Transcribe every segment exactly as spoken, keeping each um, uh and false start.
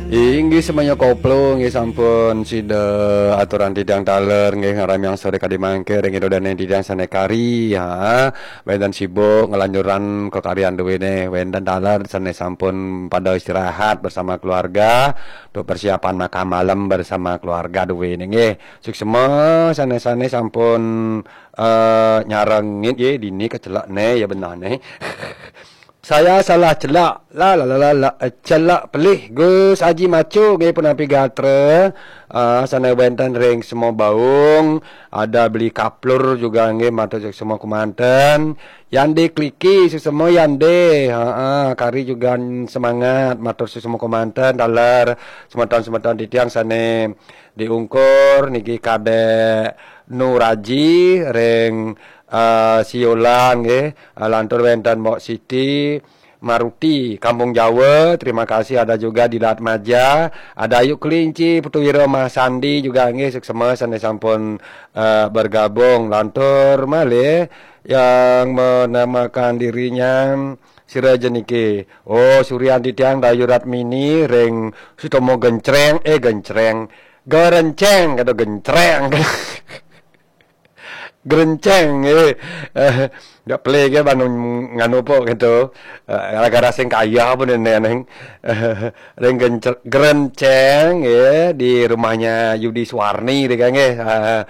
Inggih semuanya koplo, inggih sampun sida aturan titiang taler, inggih ngaramiang sore kadi mangke ring ida dane titiang sane kari, ha. Wenten sibuk ngelanjuran kekaryan duwene, wenten taler sane sampun pada istirahat bersama keluarga, untuk persiapan makan malam bersama keluarga duwene, nggih. Suksema sane-sane sampun, eh, nyarengin, nggih, dini kecelak ne, ya benah ne. Saya salah celak. La, la, la, la, la, eh, celak pelih. Gus Haji Macu nggih punapi gatra. Ah, sane wenten ring semua baung. Ada beli kaplur juga nggih matur semua kemanten. Yande Kliki semua yande. Ha, kari juga semangat matur semua kemanten. Taler semeton-semeton titiang sane diungkur niki Kadek Nuraji ring, eh, Siolan nggih. Eh, lantur wenten Mbok Siti Maruti, Kampung Jawa, terima kasih. Ada juga di Latmaja, ada Ayu Kelinci, Putu Wiro Mas Sandi juga nggih, suksema sane sampun, eh, bergabung. Lantur malih yang menamakan dirinya sira jeniki. Oh, Suryan Titiang Dayu Ratmini ring Sutomo Gencreng, eh, Gencreng. Gerenceng kata Gencreng. Gerenceng, eh. Eh, dak pelih ke banu nganu pok gitu. Eh, gara-gara sing kaya pun nene neng. Eh, ring Gencer-, Gerenceng, ya, di rumahnya Yudi Suwarni deh kan, ya. Eh, eh,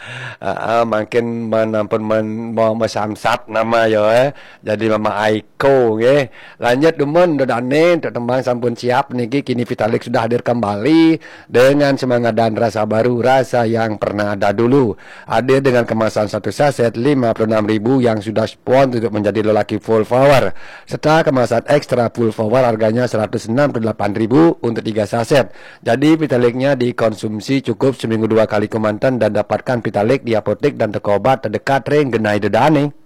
eh, makin menampun men, mau mesamsat nama ya, eh. Jadi Mama Aiko, nggih. Lanjut dumun, dodane untuk tembang sampun siap niki, kini Vitalik sudah hadir kembali dengan semangat dan rasa baru, rasa yang pernah ada dulu. Hadir dengan kemasan satu saset lima puluh enam ribu yang sudah spon untuk menjadi lelaki full power, serta kemasan ekstra full power harganya seratus enam puluh delapan ribu untuk tiga saset. Jadi Vitaliknya dikonsumsi cukup seminggu dua kali kemanten dan dapatkan Vitalik di apotek dan toko obat terdekat ring genah ida dane.